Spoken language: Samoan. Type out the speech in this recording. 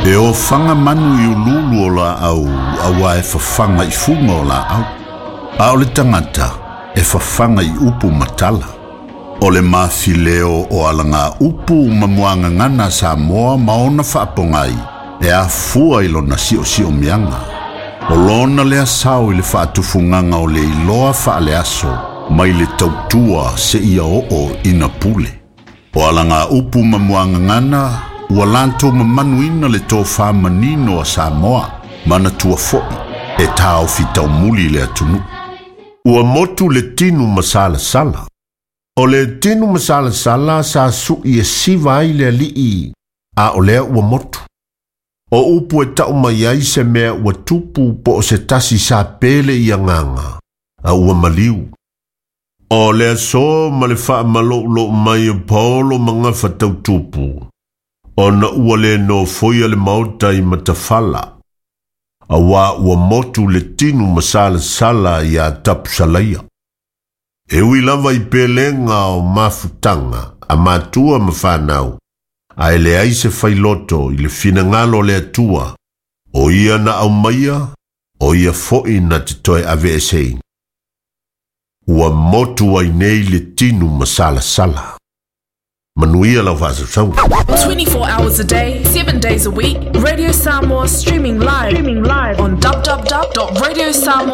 E ofaga manu i uluulu o laau auā e fafaga i fuga o laau. A o le tagata e fafaga i upu ma tala. O le mafileo o alaga upu ma muagagana a Samoa ma ona faapogai e afua i lona siosiomiaga. O lona lea sao i le faatufugaga o le iloa faaleaso mai le tautua seia oo ina pule. O alaga upu ma muagagana ua latou mamanuina le tofa manino a Samoa, manatua foi e taofi taumuli le atunuu. Ua motu le tinu masalasala. O le tinu masalasala sa su'i e siva ai le alii, a o lea ua motu. O upu e tau mai ai se mea ua tupu po o se tasi sa pele i agaga, a ua maliu. O le aso ma le faamaloulou mai o paolo ma gafa tautupu, ona ua le nofoia le maota i matafala, auā ua motu le tinu masalasala iā Tapusalaia. E ui lava i pelega o mafutaga a matua ma fanau, ae leai se failoto i le finagalo o le Atua, o ia na aumaia, o ia foi na te toe aveeseina. Ua motu ai nei le tinu masalasala. Manuia lau faasausauga. 24 hours a day, 7 days a week. Radio Samoa streaming live on www.radiosamoa.